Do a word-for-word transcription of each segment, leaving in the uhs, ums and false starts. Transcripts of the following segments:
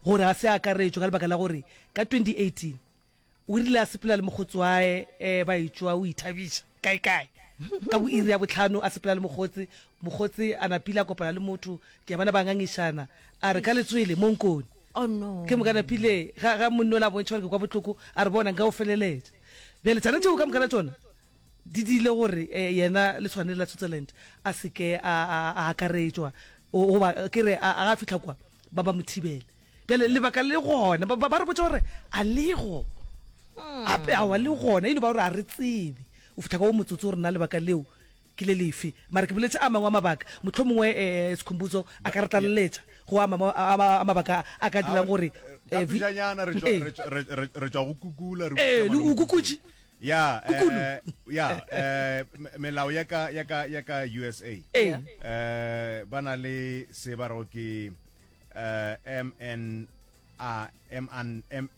Gore a se akaretšwe ka lebaka la gore ka twenty eighteen o rile a sepela le mokgotsi wae um ba etšwa o ithabiša kae-kae ka bo iri ya bohlano a sepela le mokgotsi, mokgotsi a napile a kopana le motho ke a bona ba ngangišana a re ka letswele mo nkone. Oh no. Ke moka napile ga ga monna ola a bontšha gore ke kwa bohloko a re bona nka o feleletša. Bjale tšana tšeo ka moka la tšona di diile gore um yena le tshwane la Switzerland a se ke a a a akaretšwa goba ke re a ga fihla kwa ba ba mo thibele. Bjale lebaka le gona ba ba re botša gore a lego ape awa le gona e no ba gore a re tsebe o fihla ka wo motsotso gore na lebaka leo ke le lefe. Mara ke boletše a mangwe a mabaka mohlomongwe um Sikhumbuzo a ka re tlaleletša go a mangwe a mabaka a ka dirang gore Ka pejanyana re tšwa re tšwa go kukula re ee le o kukutše ya Kukulu. eh, ya eh, me- melao ya ka ya ka ya ka U S A ee eh ba na le se ba rego ke eh, M N A M N M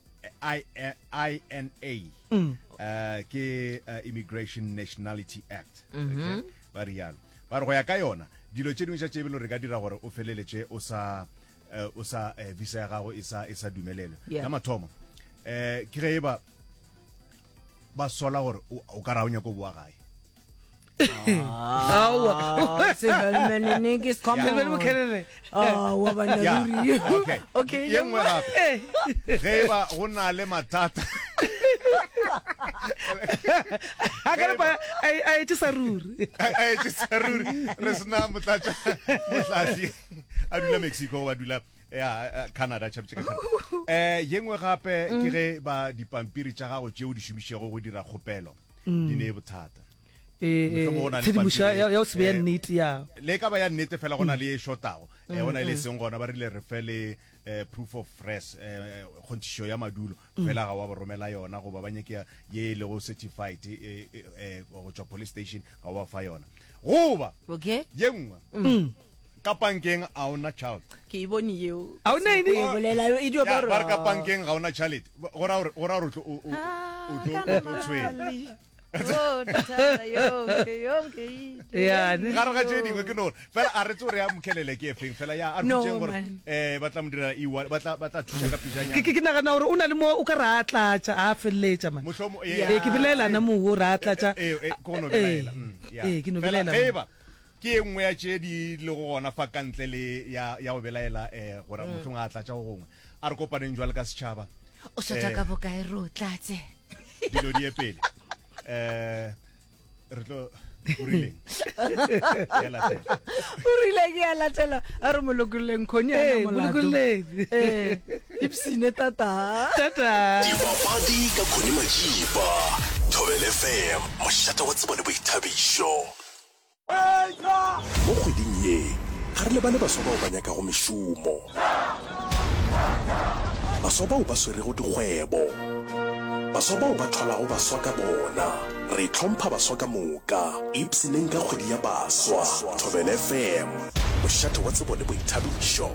I I N A Mm. eh ke eh, Immigration Nationality Act, okay ba rialo ba re go ya ka yona dilo tše dingwe tša tše belo re ka dira gore o feleletše o sa eh, o sa eh, visa ya gago e sa e sa dumelelwe. Yeah. La mathomo eh ke ge e ba ba sola gore o o ka ra o nyako boa gae. Aowa. Sevelmenenekis, come Sebele on. Mokhelele. Aowa, banna Ya, ruri. okay. Okay, Ye nngwe gape ge e ba go na le mathata a ka lepa a a etše sa ruri. A etše sa ruri re sena motlatša mohlahli a dula Mexico goba dula ya eh, Canada tšhapetše ka Canada. Eh ye nngwe gape ke ge ba dipampiri tša gago tšeo di šomišego go dira kgopelo di ne bothata. Mohlomongwe go na le tshedimošo pampiri, ya ya go se be ya eh, nnete ya le e ka ba ya nnete fela go na le e shotago eh, go na le e seng gona ba rile re fe le eh, proof of res eh, kgonthišo ya madulo fela ga wa ba romela yona goba ba nyake ye e lego certified eh, eh, eh, go tšwa police station ga wa fa yona goba Okay. ye nngwe ka bankeng a ona child. Ke e bone yeo. A o ne eng? O e bolela e dio Ya, ba ba re ka bankeng ga ona tšhalete go ra gore go ra gore o tlo- o- o- o tlo o tlo tshwenya. Ya, ne. Gare ga tše dingwe ke no gore fela a re tse gore ya mokhelele ke efeng fela ya a re No, botšeng gore man. um ba tla mo direla e ba tla ba tla thuša ka pejanyana. Ke ke ke nagana gore o na le mo o ka re a tlatša a feleletša man. Mohlomo Ee, ke belaelana moo o re a tlatša. ee ee, ke go no belaela mm, ya. Ee, ke no Fela belaela ge man. e ba ke e nngwe ya tše di lego gona fa ka ntle le ya ya go belaela um gore mohlomongwe a tlatša go gongwe a re kopaneng jwale ka setšhaba. O shota Eh. ka bokae re o tlatse? Dilo di ye pele um re tlo o rileng ya latela. O rile ke ya latela a re molokolleng khoni a Ee, na molato. molokolleng. Ee, ipsene tata. Tata. Dipapadi ka Connie Majiba, Thobela F M, mošate wa tsebo le boithabišo. Mo kgweding ye, ga re lebale baswa bao ba nyakago mešomo, baswa bao ba swerego dikgwebo, baswa bao ba thwalago baswa ka bona. Re hlompha baswa ka moka. Ipshineng ka kgwedi ya baswa. Thobela F M, mošate wa tsebo le boithabišo.